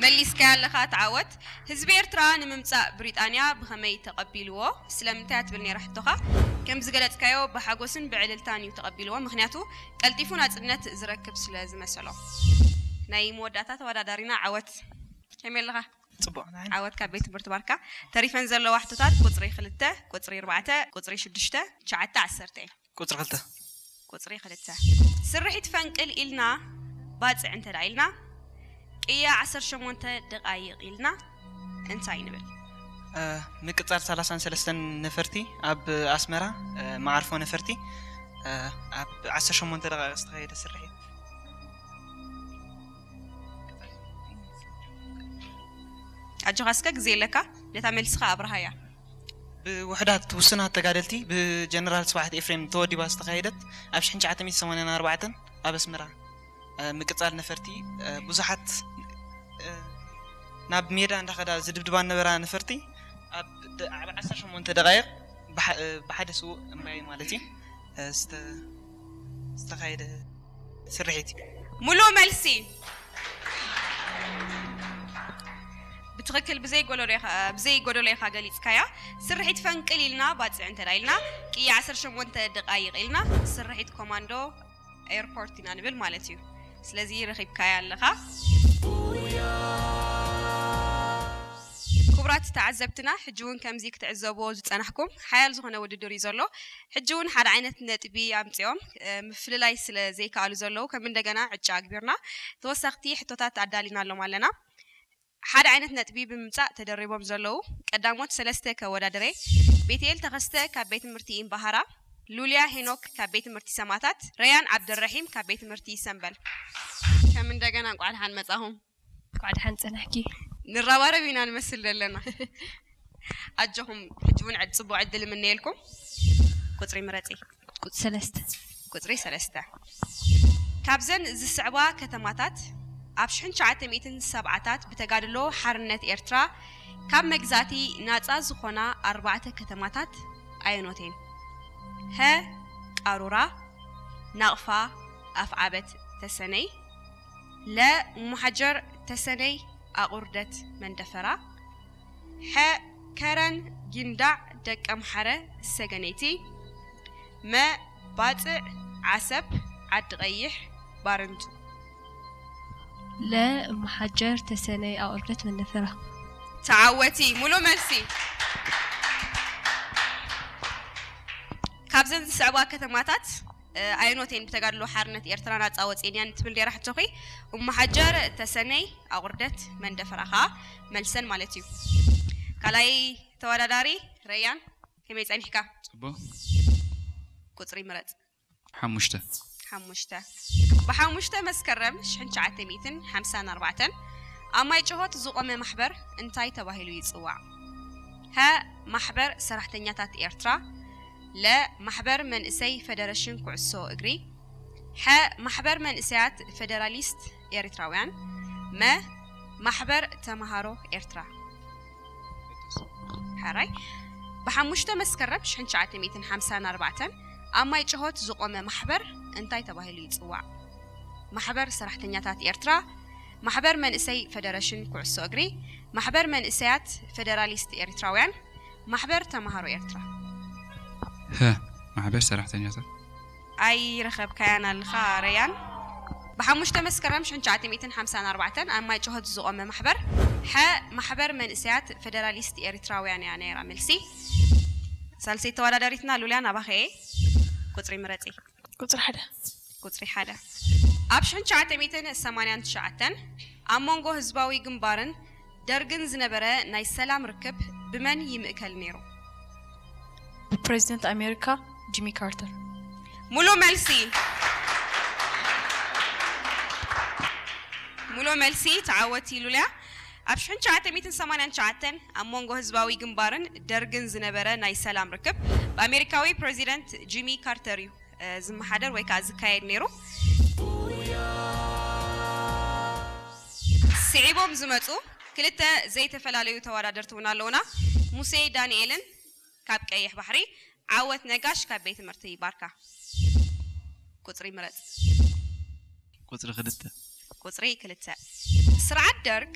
መሊስካያ ኣለኻ። ተዓወት። ህዝቢ ኤርትራ ንምምጻእ ብሪጣንያ ብኸመይ ተቐቢልዎ? ስለምንታይ ትብል ነይራ ሕቶኻ? ከም ዝገለጽካዮ ብሓጎስን ብዕልልታን እዩ ተቐቢልዎ። ምኽንያቱ ቀልጢፉ ናጽነት ዝረክብ ስለ ዝመሰሎ። ናይ መወዳእታ ተወዳዳሪና ዓወት። ከመይ ኣለኻ? ጽቡቕ፣ ንዓይ። ዓወት ካብ ቤት ትምህርቲ ባርካ። ተሪፈን ዘለዋ ሕቶታት ቁጽሪ ክልተ፣ ቁጽሪ ኣርባዕተ፣ ቁጽሪ ሽዱሽተ፣ ትሽዓተ፣ ዓሰርተ እየን። ቁጽሪ ክልተ። ቁጽሪ ክልተ። ስርሒት ፈንቅል ኢልና ባጽዕ እንተ ደኣ ኢልና ቅያ ዓሰርተ ሸሞንተ ደቓይቕ ኢልና እንታይ ንብል? እ፣ ምቅጻል ሰላሳን ሰለስተን ነፈርቲ ኣብ ኣስመራ፣ እ፣ መዓርፎ ነፈርቲ፣ እ፣ ኣብ ዓሰርተ ሸሞንተ ደቓይቕ ዝተኻየደ ስርሒት። ኣጆኻ እስከ ግዜ ኣለካ፣ ነታ መልስኻ ኣብርሃያ። ብውሕዳት ውሱናት ተጋደልቲ ብጀነራል ስብሓት ኤፍሬም ተወዲባ ዝተኻየደት ኣብ ሽሕን ትሽዓተ ሚእትን ሰማንያን ኣርባዕተን ኣብ ኣስመራ፣ እ፣ ምቅጻል ነፈርቲ፣ እ፣ ብዙሓት፣ እ፣ ናብ ሜዳ እንዳኸዳ ዝድብድባ ነበራ ነፈርቲ ኣብ ደ-፣ ኣብ ዓሰርተ ሸሞንተ ደቓይቕ ብሓ-፣ እ፣ ብሓደ ስዉእ እምባይ ማለት እዩ፣ እ፣ ዝተ-፣ ዝተኻየደ ስርሒት እዩ። ሙሉእ መልሲ። ብትኽክል ብዘይ ጎደሎ ኢኻ፣ ብዘይ ጎደሎ ኢኻ ገሊጽካያ። ስርሒት ፈንቅል ኢልና ባጽዕ እንተ ደኣ ኢልና ቅያ ዓሰርተ ሸሞንተ ደቓይቕ ኢልና ስርሒት ኮማንዶ ኤርፖርት ኢና ንብል ማለት እዩ። ስለዚ ረኺብካያ ኣለኻ። ክቡራት ተዓዘብትና፣ ሕጂ እውን ከምዚ ክትዕዘብዎ ዝጸናሕኩም ሓያል ዝኾነ ውድድር እዩ ዘሎ። ሕጂ እውን ሓደ ዓይነት ነጥቢ ኣምጺኦም፣ እ፣ ምፍልላይ ስለ ዘይከኣሉ ዘለዉ ከም እንደገና ዕጫ ኣግቢርና ተወሰኽቲ ሕቶታት ኣዳሊናሎም ኣለና። ሓደ ዓይነት ነጥቢ ብምምጻእ ተደሪቦም ዘለዉ ቀዳሞት ሰለስተ ከወዳድሬ፣ ቤትኤል ተኸስተ ካብ ቤት ትምህርቲ ኢምባሃራ፣ ሉልያ ሄኖክ ካብ ቤት ትምህርቲ ሰማታት፣ ረያን ዓብደረሒም ካብ ቤት ትምህርቲ ሰምበል። ከም እንደገና እንቋዕ ደሓን መጻኹም። እንቋዕ ደሓን ጸናሕኪ። ንረባረብ ኢና ንመስል ዘለና። ኣጆኹም፣ ሕጂ እውን ዕድ-፣ ጽቡቕ ዕድል እምነየልኩም። ቁጽሪ ምረጺ። ቁጽሪ ሰለስተ። ቁጽሪ ሰለስተ። ካብዘን ዝስዕባ ከተማታት ኣብ ሽሕን ትሽዓተ ሚእትን ሰብዓታት ብተጋድሎ ሓርነት ኤርትራ ካብ መግዛእቲ ናጻ ዝኾና ኣርባዕተ ከተማታት ኣየኖት እየን? ሀ፣ ቃሩራ፣ ናቕፋ፣ ኣፍዓበት፣ ተሰነይ፣ ለ፣ ሙሓጀር፣ ተሰነይ፣ ኣቑርደት፣ መንደፈራ፣ ሐ፣ ከረን፣ ጊንዳዕ፣ ደቀምሓረ፣ ሰገነይቲ፣ መ፣ ባጽዕ፣ ዓሰብ፣ ዓዲ ቀይሕ፣ ባረንቱ። ለ፣ እምሓጀር፣ ተሰነይ፣ ኣቑርደት፣ መንደፈራ። ተዓወቲ። ሙሉእ መልሲ። ካብዘን ዝስዕባ ከተማታት፣ እ፣ ኣየኖት እየን ብተጋድሎ ሓርነት ኤርትራ ናጻ ወጺኤን እየን ትብል ነይራ ሕቶኺ? እምሓጀር፣ ተሰነይ፣ ኣቑርደት፣ መንደፈራ ኸኣ መልሰን ማለት እዩ። ካልኣይ ተወዳዳሪ ረያን፣ ከመይ ጸኒሕካ? ጽቡቕ። ቁጽሪ ምረጽ። ሓሙሽተ። ሓሙሽተ። ብሓሙሽተ መስከረም ሽሕን ትሽዓተ ሚእትን ሓምሳን ኣርባዕተን ኣብ ማይ ጭሆት ዝቖመ ማሕበር እንታይ ተባሂሉ ይጽዋዕ? ሀ፣ ማሕበር ሰራሕተኛታት ኤርትራ፣ ለ፣ ማሕበር መንእሰይ ፈደረሽን ኩዕሶ እግሪ፣ ሐ፣ ማሕበር መንእሰያት ፈደራሊስት ኤርትራውያን፣ መ፣ ማሕበር ተምሃሮ ኤርትራ። ሕራይ። ብሓሙሽተ መስከረም ሽሕን ትሽዓተ ሚእትን ሓምሳን ኣርባዕተን ኣብ ማይ ጭሆት ዝቖመ ማሕበር እንታይ ተባሂሉ ይጽዋዕ? ማሕበር ሰራሕተኛታት ኤርትራ፣ ማሕበር መንእሰይ ፈደረሽን ኩዕሶ እግሪ፣ ማሕበር መንእሰያት ፈደራሊስት ኤርትራውያን፣ ማሕበር ተምሃሮ ኤርትራ። ሀ፣ ማሕበር ሰራሕተኛታት። ኣይረኸብካያን ኣለኻ ረያን። ብሓሙሽተ መስከረም ሽሕን ትሽዓተ ሚእትን ሓምሳን ኣርባዕተን ኣብ ማይ ጭሆት ዝቖመ ማሕበር፣ ሐ፣ ማሕበር መንእሰያት ፈደራሊስት ኤርትራውያን እያ ነይራ። መልሲ። ሳልሰይቲ ተወዳዳሪትና ሉልያ፣ ናባኸ እየ። ቁጽሪ ምረጺ። ቁጽሪ ሓደ። ቁጽሪ ሓደ። ኣብ ሽሕን ትሽዓተ ሚእትን ሰማንያን ትሽዓተን ኣብ መንጎ ህዝባዊ ግንባርን ደርግን ዝነበረ ናይ ሰላም ርክብ ብመን ይምእከል ነይሩ? ብፕሬዚደንት ኣሜሪካ ጂሚ ካርተር። ሙሉእ መልሲ። ሙሉእ መልሲ። ተዓወቲ ሉልያ። ኣብ ሽሕን ትሽዓተ ሚእትን ሰማንያን ትሽዓተን ኣብ መንጎ ህዝባዊ ግንባርን ደርግን ዝነበረ ናይ ሰላም ርክብ ብኣሜሪካዊ ፕሬዚደንት ጂሚ ካርተር እዩ፣ እ፣ ዝመሓደር ወይ ከዓ ዝካየድ ነይሩ። ስዒቦም ዝመፁ ክልተ ዘይተፈላለዩ ተወዳደርቲ እውን ኣለውና። ሙሴ ዳንኤልን ካብ ቀይሕ ባሕሪ ዓወት ነጋሽ ካብ ቤት ትምህርቲ ባርካ። ቁፅሪ ምረፅ። ቁፅሪ ክልተ። ቁፅሪ ክልተ። ስርዓት ደርግ